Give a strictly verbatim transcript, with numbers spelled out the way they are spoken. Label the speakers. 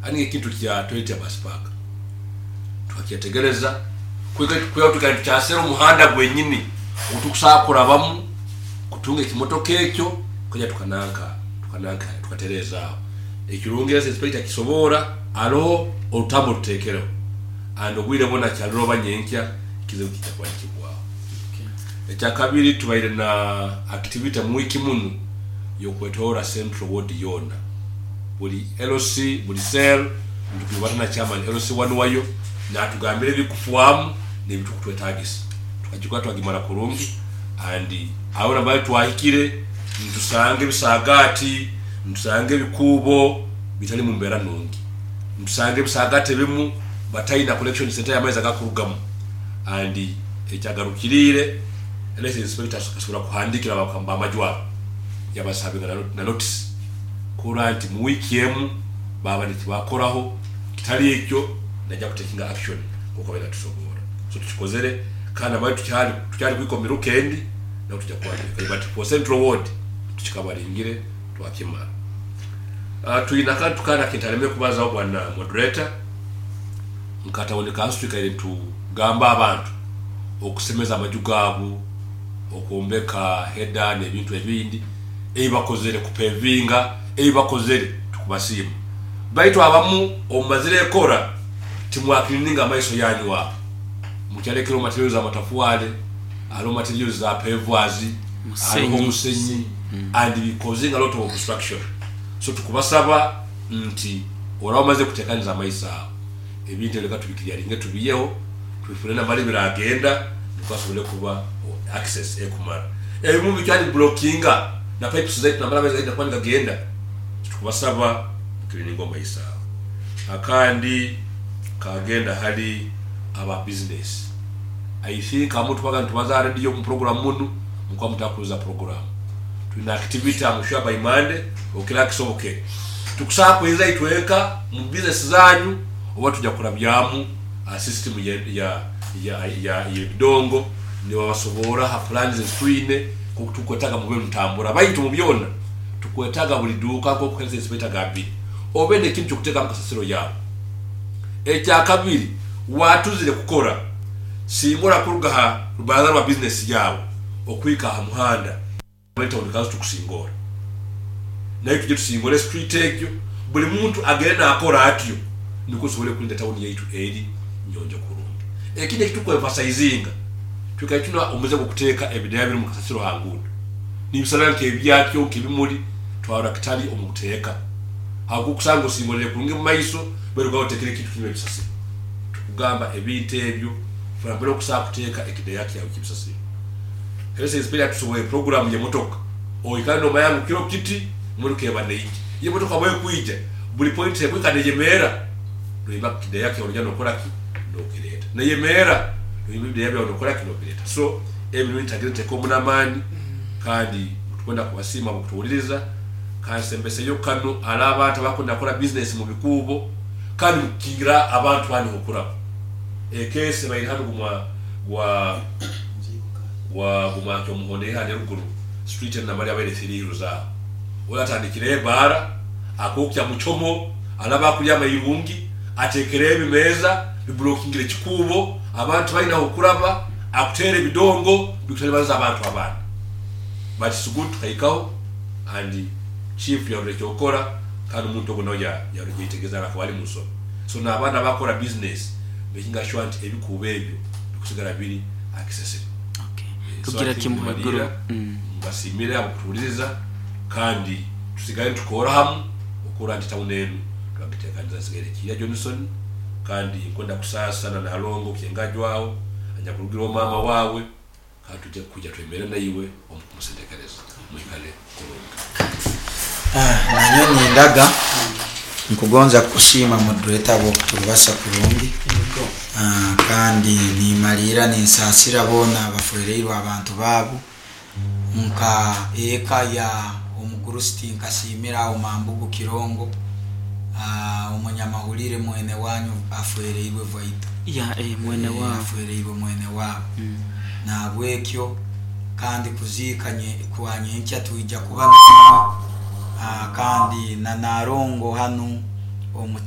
Speaker 1: Ani ekintu kya toilet ya bus park twakyetegereza kuya tukali tukyasera omuhanda gwenyini ogutukusobola kurabamu kutunga ekimotoka ekyo kuja tukananka tukananka tukaterezaaho. Ekirungi health inspector akisoboora, aroho orutambu orutekereho and obwire bwona kyarora oba nyenkya ekizibu kijja kuba nikihwaho. Ekyakabiri, tubaire na activity mu wiiki munu y'okwetorora Central Ward yoona, buli L C, buli cell ntukibata na chairman L C one wayo natugambira ebikufwamu nebitukutwetagisa. Tukagikora, twagimara kurungi and aho nambere twahikire nitusanga ebisagati, nitusanga ebikuubo bitali mu mbeera nungi, nitusanga ebisagati ebimu bataina collection center y'amaizi agakurugamu. And ekyagarukiriire, health inspector asobora kuhandikira abamaju abo yabasavinga na notice kurora nti mu wiiki emu baba nikibakoraho, kitali ekyo najja kutekinga action nkoku abaire natusobora. So tukikozere kandi nambere tukyali tukyali kwika omu miruka endi naho tujja kuba, but for Central Ward tukikabaringire, twakimara. uh, twina akantu kandi akintalemere kubazaho, bwana moderator. Nka town council twikaire nitugamba abantu okusemeza amaju gaabo, okwombeka header n'ebintu ebindi ebi bakozere, kupevinga ebi bakozere, tukubasiima. Baitu abamu omumazire ekora timwakilininga amaiso yanyu aho, mukyalekere materials amatafwale, hariho materials za pavers, hariho omusenyi and causing a lot of obstruction. So tukubasaba nti oraba omaze kutekaniza amaiso aho, ebintu ebyo leka tubikiryaringe, tubiyeho, tubifune namara biragenda niko asobole kuba access ekumara. Ebimu bikyali blockinga na pipes zaitu namara amaizi gaija kuba nigagenda. Tukubasaba mukirininga omaiso aho. Akandi kagenda hali aba business. I think amu tubaga nitubaza radio mu program munu mukuba mutakuza program. Tulina activity, I'm sure by Monday okira kisoboke tukusaba kweza itweka mu business zanyu oba tujja kurabyamu uh, system ya ya ya ya y'ebidongo nibabasobora ha plans ezitwine tukwetaga mube mutambura. Baitu mu byona tukwetaga buli duuka nkoku health inspector agambire obe nekintu kyokutekamu kasasiro yawe. Ekyakabiri, watuzire kukora singora kuruga ha rubaraza rwa business yawe okwika aha muhanda town council tukusingora naye tujye tusingore street egyo, buli muntu agende nakora atyo nikwo tusobole kulinda tawuni yaitu eri nyonjo kurungi. Ekindi ekitukwemphasizinga, twikaire tuna omuze gwokuteeka ebideya biri mu kasasiro ha nguudo nibisana nkebyakyo nkebimuli, twarora kitali omu buteeka habwokusanga osingorere kurungi mu maiso bwerugaho otekere ekintu kirimu ebisasiro. Tukugamba ebintu ebyo funa mbere okusobola kuteeka ekideya kyawe kyebisasiro. Health inspector atusoboye program y'emotoka oikale nomanya ngu kiro kiti emotoka eba neija. Iyo emotoka bwekwija buli point ekwika neyemeera, noyimba kideya kyawe nogenda nokora ki nokireeta, neyemeera noyimba ebideya byawe nokora ki nobireeta. So ebyo nitagire nteeka omu n'amaani kandi tukwenda kubasiima kutuwuliriza. Kansembeseyo kanu ali abantu abakwenda kukora business mu bikuubo kandi mukukingira abantu bandi okuraba ekesi baire hanu gumwa gwa gwa gumwakyo omuhondo ihane ruguru street enamali abaire three zaaho oyo atandikire ebaara akokya muchomo alaba akulya amairungi atekere ebimeeza biblokingire ekikuubo, abantu balina okuraba, akuteera ebidongo bikutalibaniza abantu abandi. But it's good tukahikaho and chief yarora ekyokora kandi omuntu ogwo nawe yarora yetegeza akaba ali munsobi. So n'abaana abakora business making sure nti ebikuubo ebyo bikusigara biri accessible.
Speaker 2: Okay.
Speaker 1: So
Speaker 2: Kugira
Speaker 1: I think
Speaker 2: kimu
Speaker 1: mbalira,
Speaker 2: haiguru. Mm.
Speaker 1: Mbasimire abakutuwuliriza kandi tusigale nitukora hamu okura nti tawuni enu twagitekaniza. Nsigaire Kiya Johnson kandi nkwenda kusaasa na Nalongo kyengajwaho anyakurugira mama wawe kandi tujja kuja twemere naiwe omu kumusendekereza. Mwikale kurungi.
Speaker 3: Ah, nanyo nindaga nkugonza kusiima moderator bwokutubasa kurungi. Ah, kandi nimalira ninsaasira boona abafereirwe abantu baabo nka eka ya omugurusi. Nkasiimira awo Mambugu Kirongo. Ah, omunyamahulire mwene wanyu afereirwe vaito.
Speaker 2: Ya eh, mwene
Speaker 3: Eh,
Speaker 2: wabo.
Speaker 3: Afereirwe mwene wabo.
Speaker 2: Mm.
Speaker 3: Nabwekyo kandi kuziika nye- kwa nyenkya twija kuba nawe. Ah, kandi na Narongo hanu omu.